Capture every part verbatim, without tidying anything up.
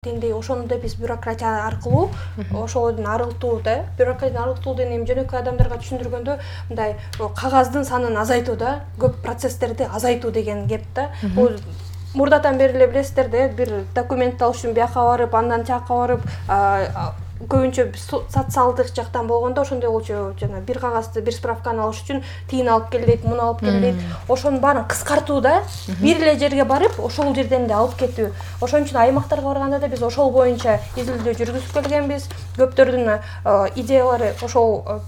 Дендей ошону да биз бюрократия аркылуу ошолордун арылтуу да бюрократияны арылтуу деген эми жөнөкөй адамдарга түшүндүргөндө мындай кагаз санын азайтуу да көп процесстерди азайтуу деген кеп да. Бул мурдатан бери эле билесиздер да, бир документ алыш үчүн бияка барып, андан тияка барып, көбүнчө социалдык жактан болгондо ошондой болчу, жана бир кагазды, бир справканы алыш үчүн тиин алып кел дейт, муну алып кел дейт. Ошонун баарын кыскартуу да, бир эле жерге барып, ошол жерден да алып кетүү. Ошон үчүн аймактарга барганда да биз ошол боюнча изилдөө жүргүзүп келгенбиз. Көптөрдүн идеялары ошол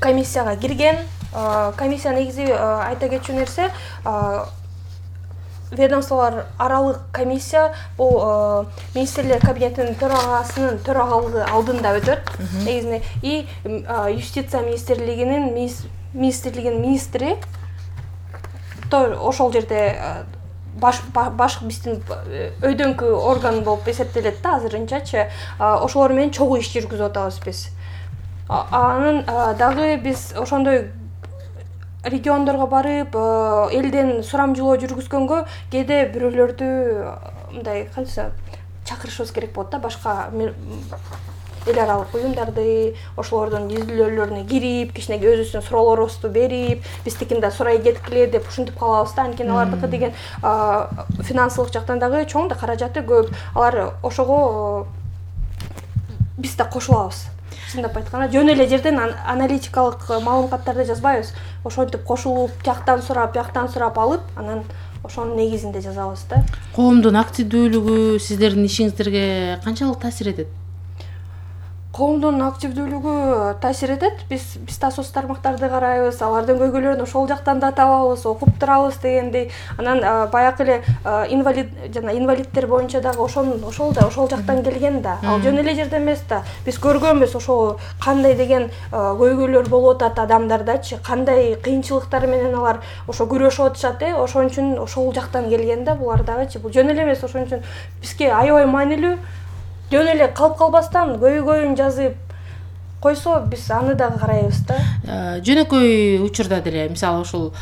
комиссияга кирген. Комиссия негизи айта кетчү нерсе, ведомстволор аралык комиссия бул министрлер кабинетинин төрагасынын төрагалыгы алдында өтөт негизинен, и юстиция министрлигинин министрлигинин министри ошол жерде баш баш биздин өйдөңкү орган болуп эсептелет да азырынчачы. Ошолор менен чогуу иш жүргүзүп атабыз биз. Анын дагы биз ошондой региондорго барып, элден сурамжылоо жүргүзгөнгө кээде бирөөлөрдү мындай кантса чакырышыбыз керек болот да, башка эл аралык уюмдарды, ошолордун изилдөөлөрүнө кирип, кичине өзүбүздүн суроолорубузду берип, биздикин да сурай кеткиле деп ушинтип калабыз да. Анткени алардыкы деген финансылык жактан дагы чоң да, каражаты көп. Алар ошого биз да кошулабыз. Чындап айтканда, жөн эле жерден аналитикалык маалыматтарды жазбайбыз. Ошентип кошулуп, тияктан сурап, бияктан сурап алып, анан ошонун негизинде жазабыз да. Коомдун активдүүлүгү сиздердин ишиңиздерге канчалык таасир этет? Коомдун активдүүлүгү таасир этет. Биз биз да соц тармактарды карайбыз, алардын көйгөйлөрүн ошол жактан да табабыз, окуп турабыз дегендей. Анан баягы эле инвалид жана инвалидтер боюнча дагы ошол ошол да ошол жактан келген да. Ал жөн эле жерде эмес да. Биз көргөнбүз ошол кандай деген көйгөйлөр болуп атат адамдардачы, кандай кыйынчылыктар менен алар ошо күрөшүп атышат э. Ошон үчүн ошол жактан келген да булар дагычы. Бул жөн эле эмес, ошон үчүн бизге аябай маанилүү. Жөн эле калып калбастан көйгөйүн жазып койсо, биз аны дагы карайбыз да. Жөнөкөй учурда деле, мисалы ушул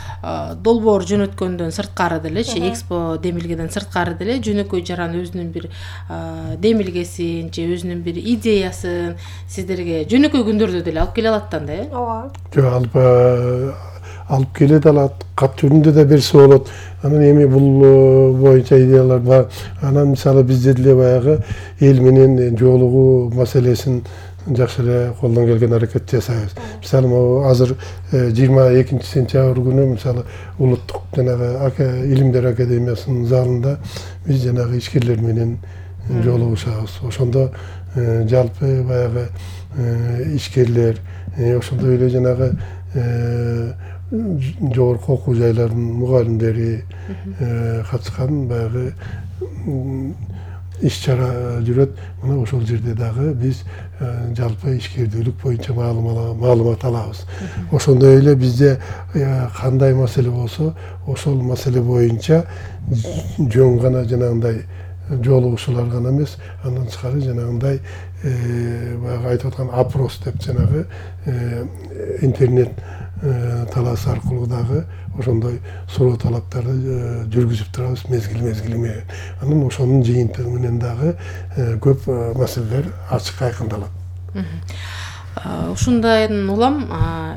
долбоор жөнөткөндөн сырткары делечи, Экспо демилгеден сырткары деле жөнөкөй жаран өзүнүн бир демилгесин же өзүнүн бир идеясын сиздерге жөнөкөй күндөрдө деле алып келе алат да, э? Ооба. Жок, алып алып келе алат, кат түрүндө да берсе болот. Анан эми бул боюнча идеялар бар. Анан мисалы бизде деле баягы эл менен жолугуу маселесин жакшы эле колдон келген аракет жасайбыз. Мисалы азыр жыйырма экинчи сентябрь күнү мисалы улуттук жанагы илимдер академиясынын залында биз жанагы ишкерлер менен жолугушабыз. Ошондо жалпы баягы ишкерлер, ошондой эле жанагы жогорку окуу жайлардын мугалимдери катышкан баягы иш чара жүрөт. Мына ошол жерде дагы биз жалпы ишкердүүлүк боюнча маалымат алабыз. Ошондой эле бизде кандай маселе болсо, ошол маселе боюнча жөн гана жанагындай жолугушуулар гана эмес, андан тышкары жанагындай баягы айтып аткан опрос деп жанагы интернет талаас аркылуу дагы ошондой суроо талаптарды жүргүзүп турабыз мезгил-мезгили менен. Анан ошонун жыйынтыгы менен дагы көп маселелер ачык айкындалат. Ушундан улам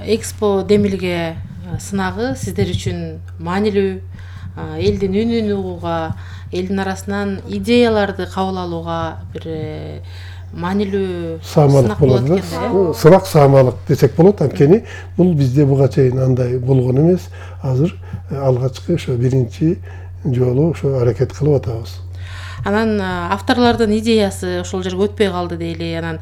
Экспо демилге сынагы сиздер үчүн маанилүү, элдин үнүн угууга, элдин арасынан идеяларды кабыл алууга бир маанилүү саамалык болот да. Сынак саамалык десек болот. Анткени бул бизде буга чейин андай болгон эмес. Азыр алгачкы ошо биринчи жолу ошо аракет кылып атабыз. Анан авторлордун идеясы ошол жерге өтпөй калды дейли. Анан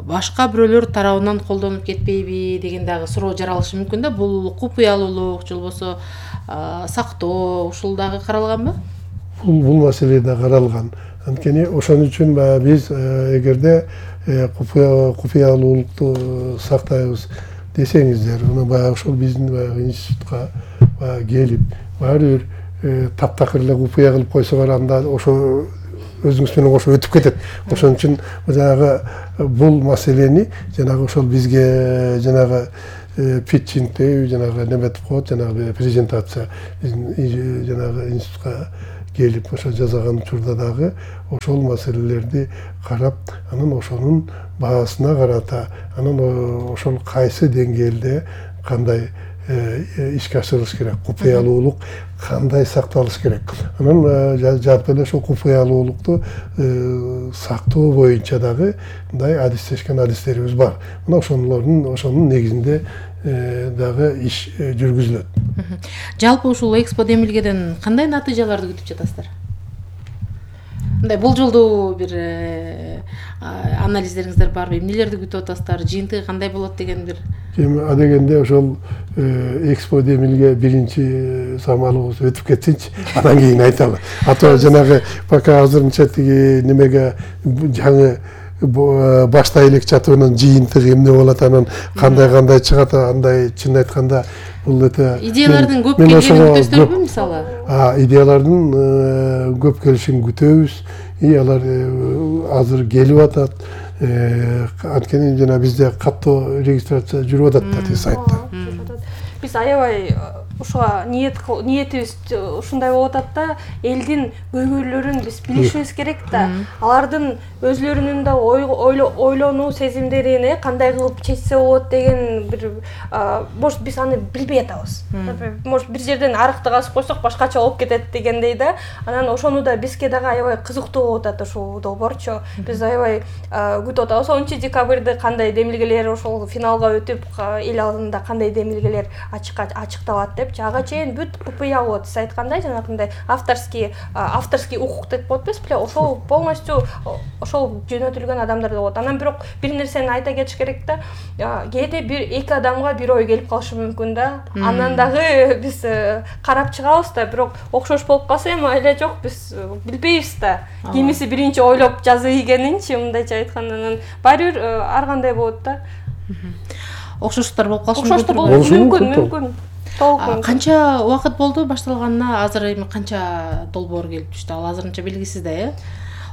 башка бирөөлөр тарабынан колдонуп кетпейби деген дагы суроо жаралышы мүмкүн да. Бул купуялуулук же болбосо сактоо ушул дагы каралганбы? Бул маселе да каралган. Анткени ошон үчүн биз эгерде купуялуулукту сактайбыз десеңиздер, мына баягы ошол биздин баягы институтка келип, баары бир таптакыр эле купуя кылып койсоңор, анда ошо өзүңүз менен кошо өтүп кетет. Ошон үчүн жанагы бул маселени жанагы ошол бизге жанагы питчингде жанагы неметип коет, жанагы презентация биздин жанагы институтка келип ошо жасаган учурда дагы ошол маселелерди карап, анан ошонун баасына карата, анан ошол кайсы деңгээлде кандай ишке ашырылыш керек, купуялуулук кандай сакталыш керек. Анан жалпы эле ошол купуялуулукту сактоо боюнча дагы мындай адистешкен адистерибиз бар. Мына ошолордун ошонун негизинде дагы иш жүргүзүлөт. Жалпы ушул Экспо демилгеден кандай натыйжаларды күтүп жатасыздар? Мындай бул жолдуу бир анализдериңиздер барбы? Эмнелерди күтүп атасыздар? Жыйынтыгы кандай болот деген бир? Эми адегенде ошол Экспо демилге биринчи самалыбыз өтүп кетсинчи, андан кийин айталы. А то жанагы пока азырынча тиги немеге жаңы баштай элек жатыбынан жыйынтыгы эмне болот, анан кандай-кандай чыгат, андай чын айтканда бул өтө идеялардын көп келгенин күтөсүзбү мисалы? А, идеялардын көп келишин күтөбүз. И алар азыр келип атат. Анткени жана бизде каттоо регистрация жүрүп атат да сайтта. Биз аябай ушуга ниет ниетибиз ушундай болуп атат да, элдин көйгөйлөрүн биз билишибиз керек да. Алардын өзлөрүнүн да ойлонуу сезимдерин кандай кылып чечсе болот деген бир может биз аны билбей атабыз. Может бир жерден арыкты касып койсок башкача болуп кетет дегендей да. Анан ошону да бизге дагы аябай кызыктуу болуп атат ушул долбоорчу. Биз аябай күтүп атабыз. онунчу декабрда кандай демилгелер ошол финалга өтүп, эл алдында кандай демилгелер ачыкталат деп. Ага чейин бүт КПЯ болот. Сиз айткандай жанагындай авторский авторский укук деп коет эмеспи? Ошол полностью ошол жөнөтүлгөн адамдар болот. Анан бирок бир нерсени айта кетиш керек да. Кээде бир эки адамга бир ой келип калышы мүмкүн да. Анан дагы биз карап чыгабыз да, бирок окшош болуп калса эми эле жок, биз билбейбиз да. Кимиси биринчи ойлоп жазып ийгенинчи, мындайча айтканда, баары бир ар кандай болот да. Окшоштуктар болуп калышы мүмкүн. Окшоштук болушу мүмкүн, мүмкүн. Канча убакыт болду башталганына? Азыр эми канча долбоор келип түштү? Ал азырынча белгисиз да, э?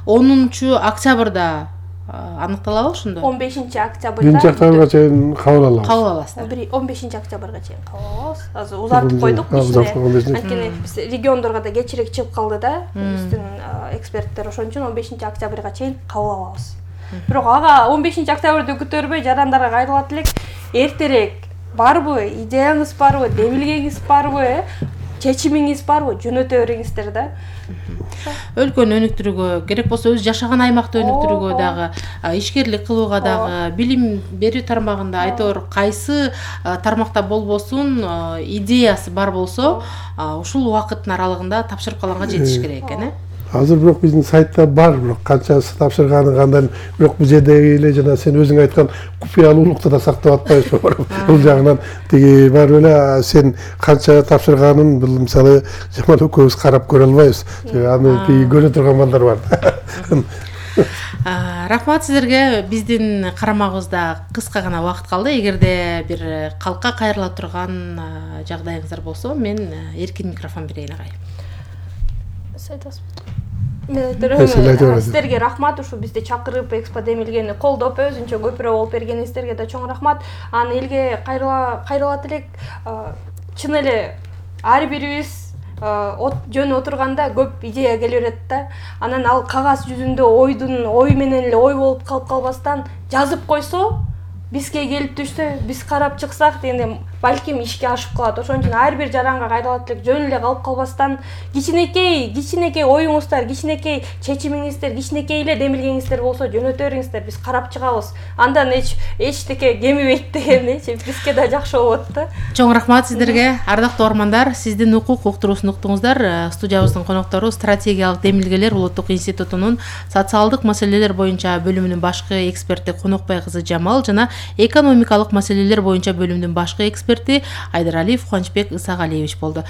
онунчу октябрда аныкталабы ошондо? он бешинчи октябрда. биринчи октябрга чейин кабыл алабыз. Кабыл аласыздар. он бешинчи октябрга чейин кабыл алабыз. Азыр узартып койдук кичине. Анткени биз региондорго да кечирээк чыгып калды да. Биздин эксперттер ошон үчүн он бешинчи октябрга чейин кабыл алабыз. Бирок ага он бешинчи октябрды күтөрбөй жарандарга кайрылат элек, эртерээк барбы, идеяңыз барбы, демилгеңиз барбы, чечимиңиз барбы, жөнөтө бериңиздер да. Өлкөнү өнүктүрүүгө, керек болсо өз жашаган аймакты өнүктүрүүгө дагы, ишкерлик кылууга дагы, билим берүү тармагында айтор кайсы тармакта болбосун идеясы бар болсо, ушул убакыттын аралыгында тапшырып калганга жетиш керек экен, э? Азыр бирок биздин сайтта бар, бирок канчасы тапшырганы кандай, бирок бул жерде эле жана сен өзүң айткан купуялуулукту да сактап атпайбызбы? Бул жагынан тиги бар эле сен канча тапшырганын бул мисалы жаман экөөбүз карап көрө албайбыз. Аны тиги көрө турган балдар бар. Рахмат сиздерге. Биздин карамагыбызда кыска гана убакыт калды. Эгерде бир калкка кайрыла турган жагдайыңыздар болсо, мен эркин микрофон берейин агай. Сиздерге рахмат, ушу бизди чакырып Экспо демилгени колдоп, өзүнчө көпүрө болуп бергениңиздерге да чоң рахмат. Аны элге кайрыла кайрылат элек. Чын эле ар бирибиз жөн отурганда көп идея келе берет да. Анан ал кагаз жүзүндө ойдун ой менен эле ой болуп калып калбастан жазып койсо, бизге келип түшсө, биз карап чыксак дегенде балким ишке ашып калат. Ошон үчүн ар бир жаранга кайрылат элек, жөн эле калып калбастан кичинекей, кичинекей оюңуздар, кичинекей чечимиңиздер, кичинекей эле демилгеңиздер болсо жөнөтө бериңиздер, биз карап чыгабыз. Андан эч эчтеке кемибейт дегенди, бизге да жакшы болот да. Чоң рахмат сиздерге. Ардактуу угармандар, сиздин укук уктуруусун уктуңуздар. Студиябыздын коноктору стратегиялык демилгелер улуттук институтунун социалдык маселелер боюнча бөлүмүнүн башкы эксперти Конокбай кызы Жамал жана экономикалык маселелер боюнча бөлүмүнүн башкы эксперти Айдаралиев Кубанычбек Исагалиевич болду.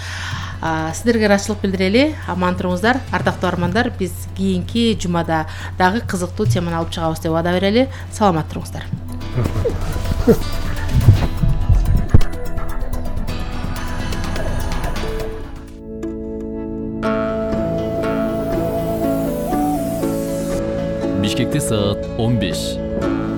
Сиздерге ыраазычылык билдирели. Аман туруңуздар. Ардактуу угармандар, биз кийинки жумада дагы кызыктуу теманы алып чыгабыз деп вада берели. Саламат туруңуздар. Бишкекте саат он беш.